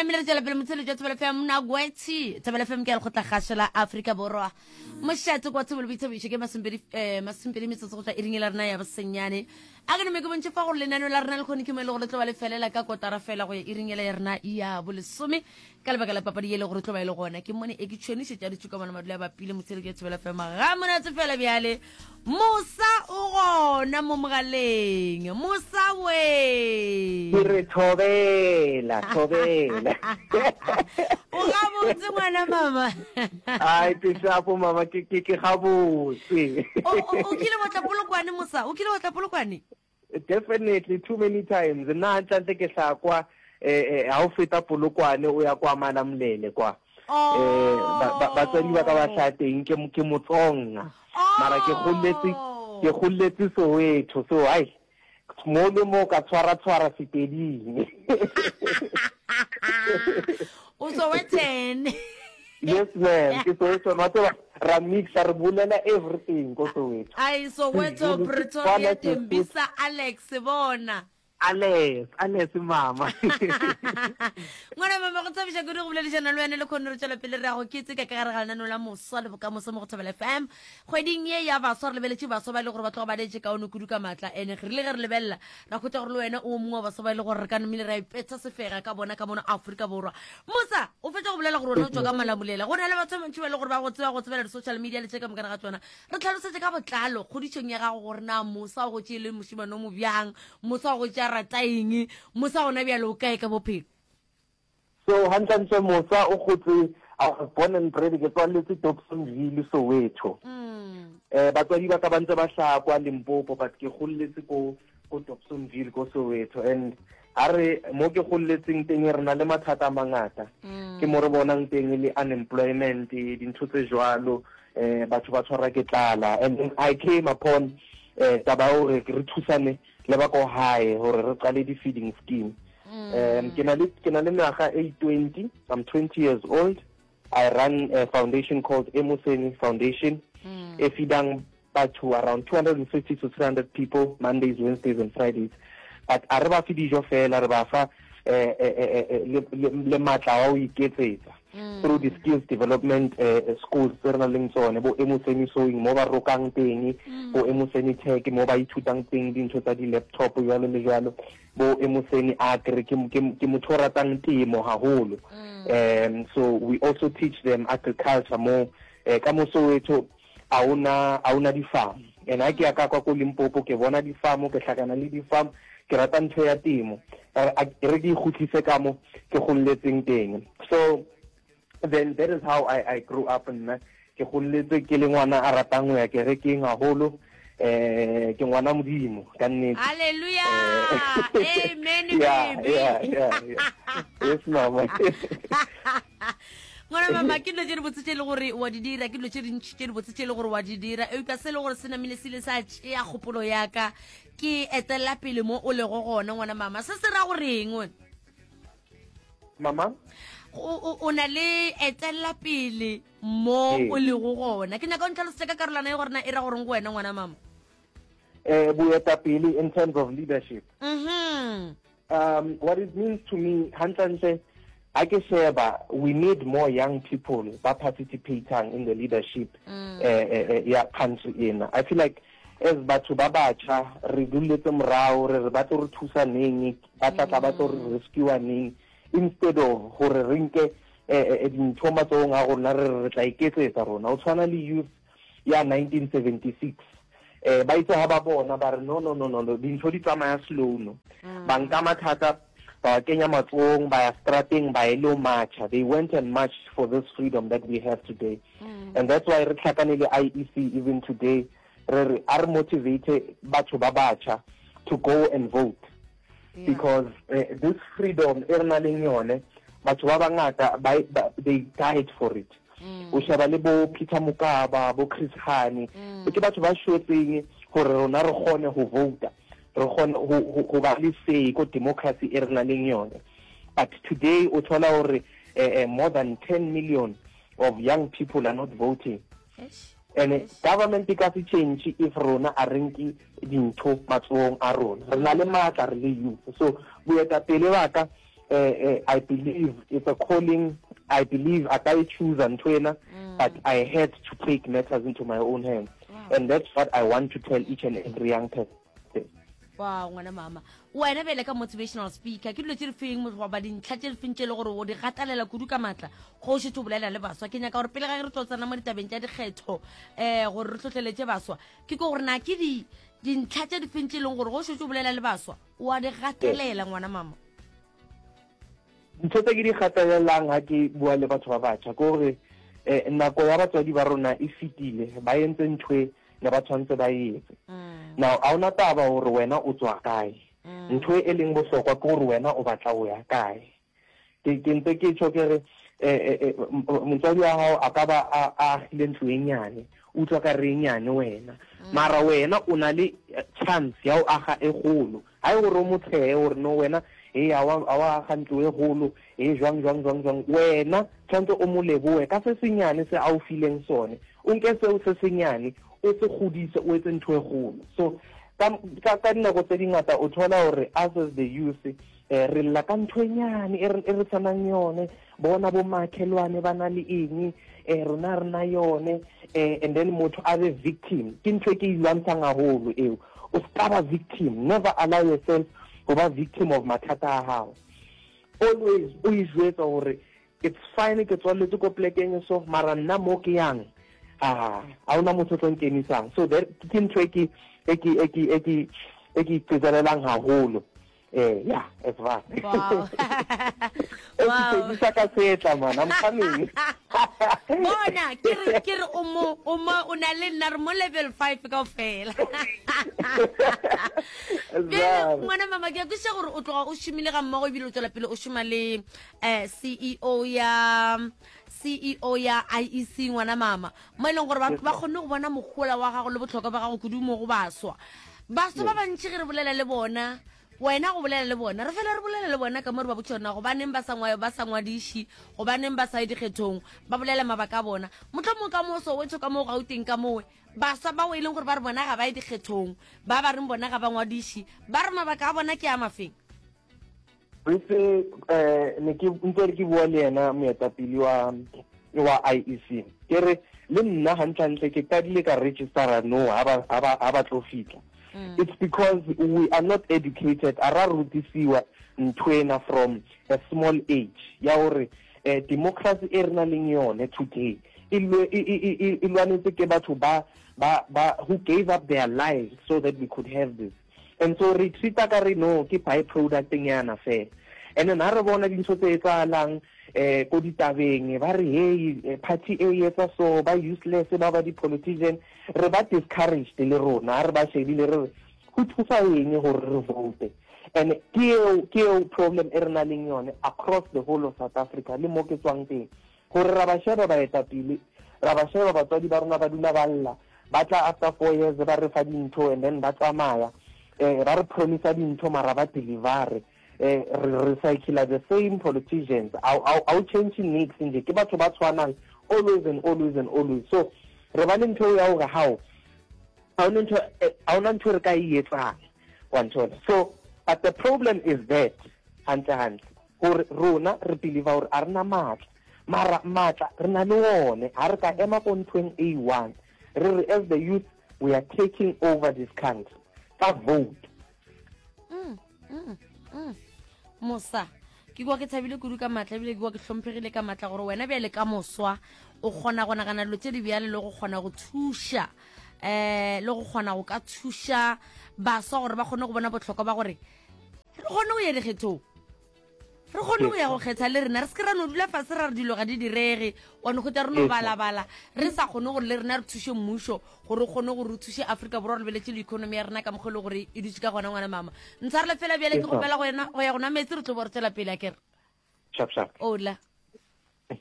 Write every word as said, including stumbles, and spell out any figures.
namile re tšwela pele motsheletšo wa Thobela F M Nagwetši. Thobela F M ke ya lekgotla kgašo la Afrika Borwa. Mošate kwa thobelo boithabišo ke masomepedi eh, masomepedi metsotso go tšwa iring e la rena ya bosenyane. A ke nome ke bontšhe fa gore lenaneo la rena le kgone ke mo e le gore le tlo ba le felela ka kotara fela go ya iring ela ya rena ya bolesome ka lebaka la papadi ye le gore tlo ba e le gona. Ke mone e ke tšhwenišetša ditšhuka bona madula a bapile motsheletšo wa Thobela F M ga monate fela. Bjale Mosa o gona mo mogaleng. Mosa we. Ke re thobela, thobela. O gabotse, ngwana mama? Ai, ke shapo, mama, ke ke ke gabotse. O o- o kile wa tla Polokwane, Mosa? O kile wa tla Polokwane? Definitely, too many times. Nna hantlentle ke hlaya kwa eh eh ha o feta Polokwane o ya kwa Malamulele kwa. Eh ba- ba- batswadi ba ka ba hlaya teng, ke ke Motsonga. Mara ke golletse ke golletse Soweto, so ai mo le mo ka tshwara tshwara Sepeding. O Sowetan. Yes ma'am, ke Soweto. Wa tseba ra mixa, re bolela everything ko Soweto. Ai, Soweto, Sezulu, Pretoria, Setswana, Tembisa, Alex bona. Alex, Alex mama. Ngwana mama, go thabiša kudu go boledišana le wena le kgone. Re tšwela pele re ya go keteka ka gare ga lenaneo la Moswa le Bokamoso mo go Thobela F M. Kgweding ye ya baswa re lebeletše baswa ba e le gore ba tloga ba letše kaone kudu ka maatla, ene re rile ge re lebelela ra kgotsa gore le wena o mongwe wa baswa ba e le gore re ka nomile ra ipetsa sefega ka bona ka mono Aforika Borwa. Mosa, o fetsa go bolela gore wena o tswa ka Malamulela. Go na le batho ba bantši ba e le gore ba go tseba go tsebela di-social media le tše ka mokana ga tsona. Re tlhalosetse ka botlalo kgodišong ya gago gore na Mosa o go tšee le mošimane o mo bjang, Mosa o go tšea rata eng, Mosa gona bjale o kae ka bophelo? So hantlentle Mosa o gotse, I was born and bred, ke tswaletswe Dobsonville, Soweto. Eh batswadi ba ka ba ntse ba hlaya kwa Limpopo, but ke golletse ko ko Dobsonville ko Soweto, and ha re mo ke golletseng teng re na le mathata a mangata. Ke mo re bonang teng le unemployment, dintho tse jwalo, eh batho ba tshwarwa ke tlala, and then I came upon eh taba ya hore re thusane le ba ko hae hore re qale di-feeding scheme. um ke na le ke na le mengwaga e twenty, I'm twenty years old. I run a foundation called Emoseni Foundation e feedang batho around two hundred fifty to three hundred people Mondays, Wednesdays and Fridays, but a re ba fe dijo fela, re ba fa eh, eh, eh, eh, le, le, le matla wa ho iketsetsa through the skills development eh, schools tse re nang leng tsone, bo Emoseni Sewing mo ba rokang teng, bo Emoseni Tech mo ba ithutang teng dintho tsa di-laptop, jwalo le jwalo, bo Emoseni Agri. ke ke ke motho o ratang temo haholo, um so we also teach them agriculture mo eh, ka mo Soweto a ona a ona di-farm, and ha ke ya ka kwa ko Limpopo ke bona di-farm, ke hlakana le di-farm. Ke rata ntho ya temo. Eh, a- re ke ikgutlise ka mo ke golletseng teng. So then that is how I, I grew up. Nna ke golletse ke le ngwana a ratang ho ya kerekeng haholo. eh ke ngwana Modimo ka nnete. Halleluja. Eh, amen. yeah, Baby. yeah, yeah, yeah. Yes mama. Ngwana mama, ke dilo tše dibotse tše e le gore wa di dira, ke dilo tše dintši tše dibotse tše e le gore wa di dira, eupša se e le gore se namile se ile sa tšea kgopolo yaka ke etelela pele mo o lego gona. Ngwana mama, se se ra goreng wena? Mama? o o- o na le etelela pele mo Ee. o lego gona. Ke nyaka o ntlhalosetsa ka karolwana e gore na e ra goreng go wena, ngwana mama. eh boetapele in terms of leadership? Mhm um what it means to me, hantlentle ha ke sheba, we need more young people ba participating in the leadership mm. eh, eh, eh, ya country ena. I feel like as batho ba batjha re duletse morao, re re ba tlo re thusa neng, ba tla tla ba tlo re rescue neng, instead of gore re nke eh, eh, dintho matsohong a rona, re re re tla iketsetsa rona. O tshwana le youth ya nineteen seventy-six, eh ba itse ha ba bona ba re, "No, no, no, no, no, dintho di tsamaya slow." No, ba nka mathata ba wa kenya matsohong, ba ya strateng, ba ile marcha. They went and marched for this freedom that we have today, and that's why re tlhakane le I E C even today. Re re a re motivate batho ba batjha to go and vote because uh, this freedom e re nang leng yone, batho ba bangata ba, ba, they died for it. O sheba le bo Peter Mokaba, bo Chris Hani, ke batho ba shwetseng gore rona re kgone go vouta, re kgone go go ba le say ko democracy e re nang leng yone. But today o thola gore eh, eh, more than ten million of young people are not voting, and eh, government e ka se change if rona a re nke dintho matsohong a rona. Re na le maatla re le youth. So boetapele ba ka eh, eh, I believe it's a calling I believe a ka e choose ntho ena mm. but I had to take matters into my own hands wow. and that's what I want to tell each and every young person wow ngwana mama wena bjale ka motivational speaker ke dilo tse di feng goba dintlha tse di feng tse e le gore o di gatalela kudu ka maatla go o šetse o bolela le baswa ke nyaka gore pele ga re tlo tsena mo ditabeng tša dikgetho um gore re tlhotlheletse baswa ke ko gore na ke dintlha tse di feng tse e leng gore go o šetse o bolela le baswa o a di gatelela ngwana mama ntho tse ke di gatelelang ha ke bua le batho ba batjha ke gore um nako ya batswadi ba rona e fetile ba entse ntho e ne ba tshwanetse ba e etse mm. now a ona taba gore wena o tswa kae mm. ntho e leng bohlokwa ke gore wena o batla o ya kae ke ke ntse ke tjho ke re eh, eh, motswadi wa gago a ka ba a agile ntlo e nyane utlwa ka re e nyane wena mm. mara wena o na le chance ya go aga e golo ha e gore o motsheye gore no wena e a wa aga ntlo e golo e jwang jwang jwang jwang wena tshwanetse o mo leboe ka se senyane se a o fileng sone o nke seo se senyane o se godise o etse ntho e golo so ka ka dinako tse dingata o thola gore us as the youth eh re lla ka ntho e nyane e re e tshwanang yone bona bo makhelwane ba na le eng eh rona re na yone eh and then motho a be victim ke ntho e ke e lwantshang haholo eo o ska ba victim never allow yourself go ba victim of mathata a gago always o e jwetsa gore it's fine ke tswaletse ko plekeng so mara nna mo ke yang a a ona motho o tlo nkemisang so that ke ntho e ke e ke e ke e ke e ke iqetselelang haholo eh yeah it's right wow wow ka setla man i'm coming bona ke re ke re o mo o mo o na le nna re mo level five kaofela bjale ngwana mama ke a kwešiša gore o tloga o šomile ga mmogo ebile o tswela pele o šoma le um C E O ya C E O ya I E C ngwana mama mo e leng gore ba ba kgonne go bona mogola wa gago le botlhokwa ba gago kudu mo go baswa baswa ba bantši ge re bolela le bona wena go bolela le bona re fela re bolela le bona ka mo re ba botša yona gobaneng ba sa ngwa- ba sa ngwadiši gobaneng ba sa ye dikgethong ba bolela mabaka a bona mohlomong ka mo Soweto ka mo Gauteng ka mowe baswa bao e leng gore ba re bona ga ba ye dikgethong ba ba reng bona ga ba ngwadiši ba re mabaka a bona ke a mafeng. Re eh ne ke ntse re ke bua le yena moetapele wa wa I E C ke re le nna hantlentle ke qadile ka registera no ha ba ha ba ha ba tlo fitla. It's because we are not educated, a ra rutisiwa nthwena from a small age ya hore eh, democracy e re nang leng yone today e lwe- e- e- e e lwanetse ke batho ba ba ba who gave up their lives so that we could have this. And so re treata ka re no ke byproduct nyana fela. And then ha re bona dintho tse etsahalang eh ko ditabeng ba re hey, eh, party e etsa so ba useless ba ba di-politician re ba discouraged le rona ha re ba shebile re re go thusa eng gore re vote. And ke eo ke eo problem e re nang leng yone across the whole of South Africa le mo ke tswang teng gore ra ba sheba baetapele ra ba sheba batswadi ba rona ba dula ba lla ba tla after four years ba re fa dintho and then ba tsamaya eh ba re promisa dintho mara ba deliver eh re recycle the same politicians a o change nix nje ke batho ba tshwanang always and always and always. So re ba le ntho ya hore hao ha ona ntho ha ona ntho re ka e etsang wa nthola. So but the problem is that hantle hantle gore rona re believe gore a rena matla mara matla re na le one ha re ka ema ko nthweng e one re re as the youth we are taking over this country ka vote. mm, mm, mm. mosa ke kwa ke thabile kudu ka maatla ebile ke kwa ke hlomphegile ka maatla gore wena bjale ka moswa o kgona go nagana dilo tse di bjale le go kgona go thuša um le go kgona go ka thuša baswa gore ba kgone go bona botlhokwa ba gore re kgone go ya dikgethong re kgone go ya go kgetha le rena re se ke ra no dula fase ra re dilo ga di direge wa no kgotsa re no balabala re sa kgone gore le rena re thuše mmušo gore o kgone gore o thuše Afrika Borwa re lebeletse le economy ya rena ka mokgwa e le gore e dutse ka gona. Ngwana mama ntshwarele fela bjale ke gopela go ya go nwa metsi re tlo bo re tswela pele a kere. Sharp sharp. Ola.